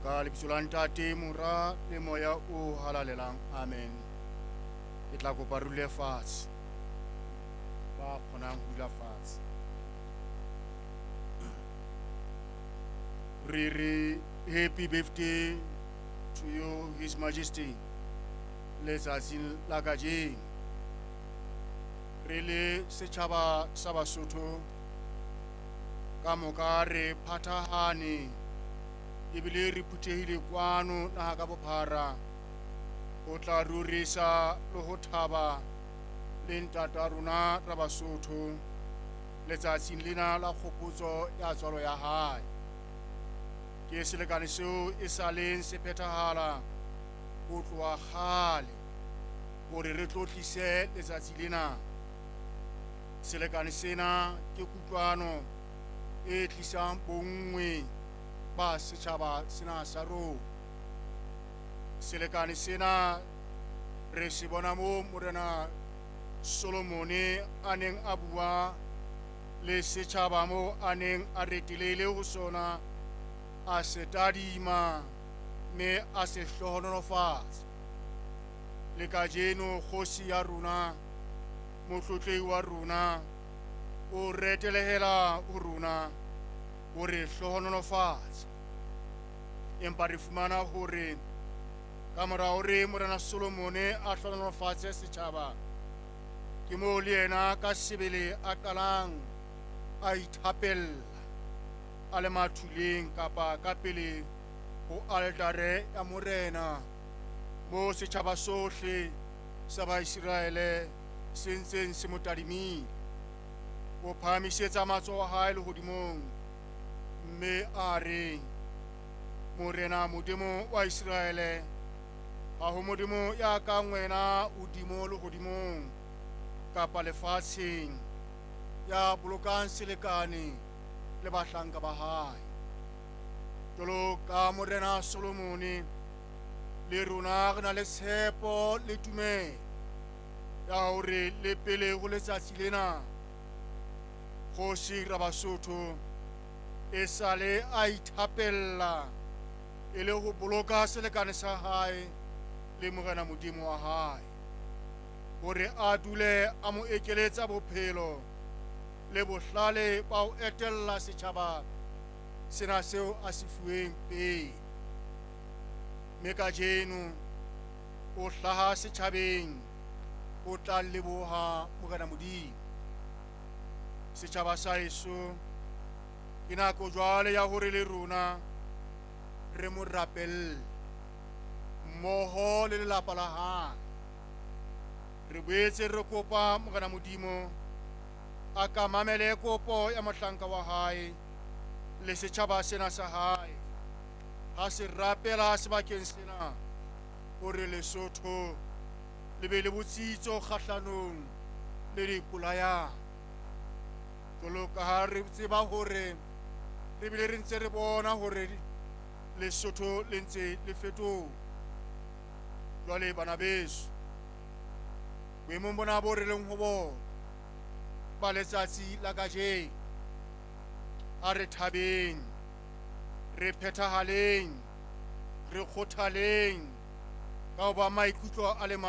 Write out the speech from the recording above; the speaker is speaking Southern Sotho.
Ka lebitso la Ntate, Mora le Moya o Halalelang. Amen. Ke tla kopa re dule fatshe. Ba kgonang ho dula fatshe. Re re happy birthday to you, His Majesty, letsatsing la kajeno. Re le setjhaba sa Basotho ka moka re phathahane ebile re phuthehile kwano naha ka bophara ho tla rorisa le ho thaba le ntata rona ra Basotho letsatsing lena la kgopotso ya tswalo ya hae. Ke selekane seo e sa leng se phethahala ho tloha kgale hore re tlotlise letsatsi lena. Selekane sena ke kutlwano e tlisang bonngwe ba setjhaba sena sa rona. Selekane sena re se bona moo Morena Solomone a neng a bua le setjhaba moo a neng a retelehile ho sona, a se tadima mme a se hlohonolofatsa. Le kajeno kgosi ya rona, motlotlehi wa rona, o retelehela ho rona ho re hlohonolofatsa. Empa re fumana hore ka mora hore Morena Solomone a hlohonolofatse setjhaba, ke moo le yena ka sebele a qalang a ithapella a le mathuleng kapa ka pele ho altare ya Morena, moo setjhaba sohle sa Baiseraele se ntseng se mo tadimile. O phahamisetsa matsoho a hae lehodimong mme a re, Morena Modimo wa Iseraele, ha ho Modimo ya kang wena hodimo lehodimong kapa lefatsheng, ya bolokang selekane le bahlanka ba hae. Jwalo ka Morena Solomone, le rona re na le tshepo le tumelo ya hore le pele ho letsatsi lena kgosi Rabasotho e sale a ithapella e le ho boloka selekane sa hae le Morena Modimo wa hae, hore a dule a mo ekeletsa bophelo le bohlale ba ho etella setjhaba sena seo a se fuweng pele. Mme kajeno o hlaha setjhabeng o tla leboha Morena Modimo. Setjhaba sa heso, ke nako jwale ya hore le rona re mo rapelle mmoho le lelapa la hae. Re boetse re kopa Morena Modimo a ka mamele kopo ya mohlanka wa hae le setjhaba sena sa hae ha se rapela sebakeng sena hore Lesotho le be le botsitso kgahlanong le dipolayano. Jwalo ka ha re tseba hore re bile re ntse re bona hore Lesotho le ntse le fetoha. Jwale bana beso, boemong bona bo re leng ho bona ba letsatsi la kajeno, a re thabeng, re phethahaleng, re kgothaleng ka ho ba maikutlo a le mang.